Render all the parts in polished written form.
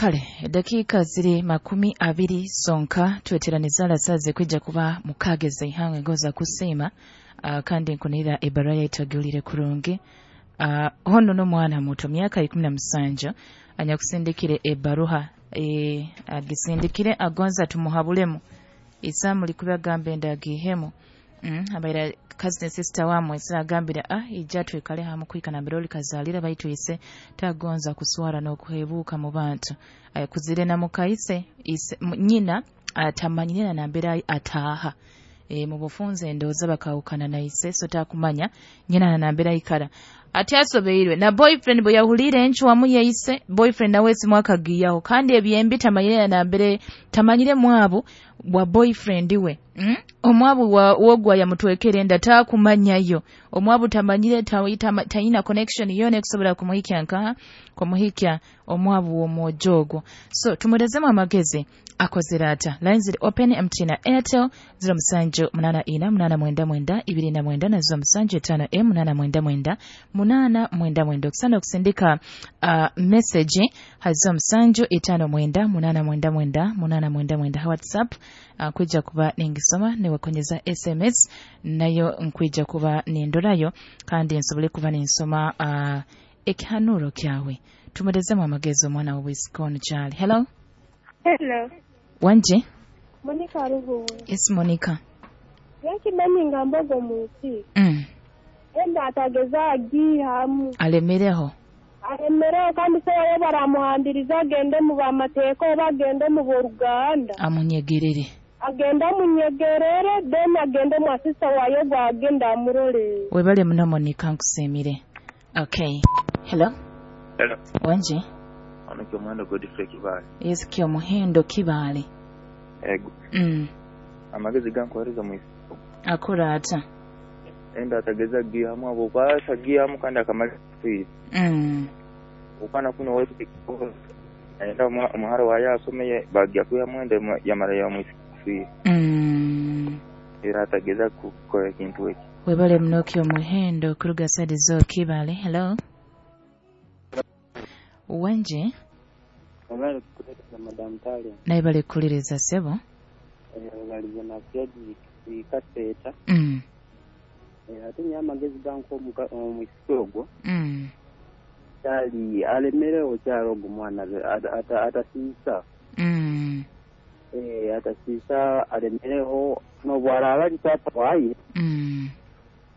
Kale dakiika ziri 20 sonka tweteraniza alasaze kwijja kuba mukageza ihangwe ngoza kusiima kandi nkunira ebarua yaitu agulire kurungi. Hono n'omwana muto myaka 17 anyakusindikire ebaruha agisindikire agonza tumuhabulemu isamu likuba gambe ndagihemu abaira cousin sister wamwe agambira ija twikale hamu kwika na biroli kazalira baitu ise tagonza kuswara n'okuhebuka mu bantu kuzire na mukaise ise nyina atamanyira na mbera ataha mu bufunze ndowooza bakawukana na ise so takumanya nyina na mbera ikara ati asobeirwe na boyfriend bwe yahulire enchwamu yaise boyfriend nawe simu akagiyaho kandi ebyembi tamanyire na mbere tamanyire mwabu bwa boyfriend we omwabu wogwa yamutwekere nda takumanyayo omwabu tamanyire tayina connection yone kusobola kumuhikya nkaha kumuhikya omwabu w'omwojogo. So tumurezemu amagezi akozera ata. Lines ziri open MTN na Airtel 07 84 899 29 na 07 5 899 899. Okusana okusindika message ha 07 59 899 899 WhatsApp kwija kuba ningisoma niwekonyeza SMS nayo nkwija kuba nindorayo kandi nsobole kuba ninsoma ekihanuro kyawe. Tumurezemu amagezi omwana w'obwisikono kyali. Hello. Hello. Wanje? Monica Ruhu. Yes, Monica. Yakimanyi nga mbogo mu nsi. Enda atageza agihamu. Alemereho. Alemereho kandi se wayo baramuhambiriza agende mu bamateeka oba agende mu boruganda. Amunyegerere. Agenda amunyegerere then agende mu asista wayo gwagenda amurole. Webale muno Monica, nkusiimire. Okay. Hello. Hello. Wanje? Ono Kyomuhendo Godfrey Kibale. Yes, Kyomuhendo Kibale. Ego. Amagezi gankuhereza mu isoko. Akora ata? Enda atageza gihamu abo kwasa gihamu kandi akamara kwiza. Ukana kuno wetu enda umuharo wa yasomeye bagiya kuyamu enda yamara ya mu isoko. Era atageza kukora ekintu eki. Webale muno Kyomuhendo kuruga side zo Kibale. Hello. Wanje? Wabale kukuliriza Madam Tale. Naye bale kukuliriza sebo. Balize na Fredrick Kaseeta. Ate nnyo amagezi ganko omwisiki ogwo. Kyali alemerewo kyali ogwo mwana atasiisa. Atasiisa alemereho n'obwaraaba ali taata waaye.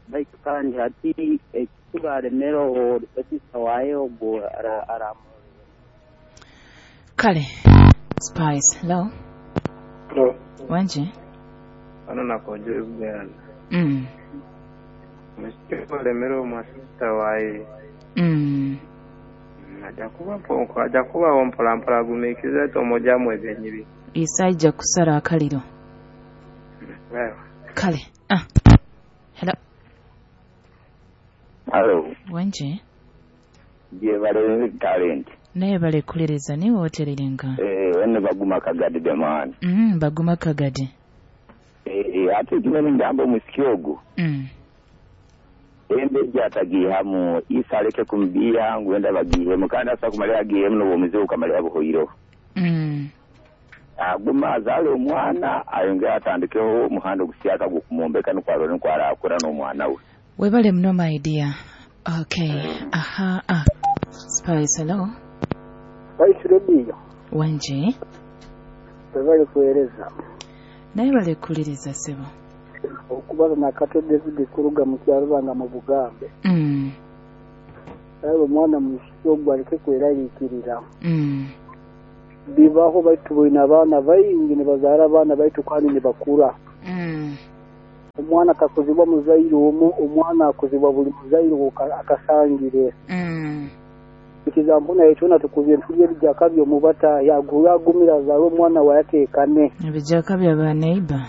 Baitu kandi hati ekikuba alemereho atasiisa waaye ogwo aramu. Kale. Spice. Hello. Hello. Wanje? Ano nakojo Uganda. Mwisiki alemereho mwasista waaye. Aja kubaho mpola mpola agumiikiriza tomojamu ebyenyibi. Isaija kusara akaliro. Kale. Hello. Hello. Wanje? Jebale talent. Naye bale kuliriza niwe oterirenga. Wene baguma kagadi demani. Baguma kagadi. Ate kimene ngamba mwisiki ogwo. Embe jatagihamu isaleke kumbiya ngwenda bagihemu kandi asa kumalira agihemu n'obumizi ukamalira buhoiro. Aguma azale omwana ayongera atandikeho omuhanda ogusyaka gukumumbeka nukwarora nkwarakura n'omwana we. Webale muno my dear. Okay. Aha. Spice, hello. Spice Radio. Wanje? Webale kuhereza. Naye bale kuliriza sebo. Okubaza nakato David kuruga mu kyarubanga mu Bugambe. Ayo omwana musiki ogwo aleke kweraliikirira. Bibaho baitu boina abaana baingi nibazaara abaana baitu kandi nibakura. Omwana akakozibwa muzaire omu, omwana akozibwa buli muzaire akasangire. Ekizambu naye kyona tukubye ntulye ebijaka by'omubata yagumira azaale omwana we ateekane. Ebijaka bya baneiba.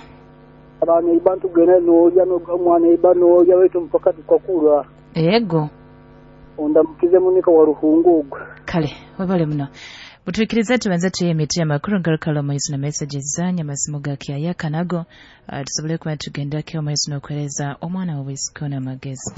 Abaneiba ntugenda n'olya n'omwana eiba n'olya baitu mpaka tukakura. Ego. Ondamukize Monica wa Ruhungu ogwo. Kale, webale muno. Butuikiriza tubanze tuye emiti amakuru ngaruka omaiso na messages zanyu amasimu ga kyayaka nago tusobole kuba tugendako omaiso n'okuhereza omwana w'obwisiko n'amagezi.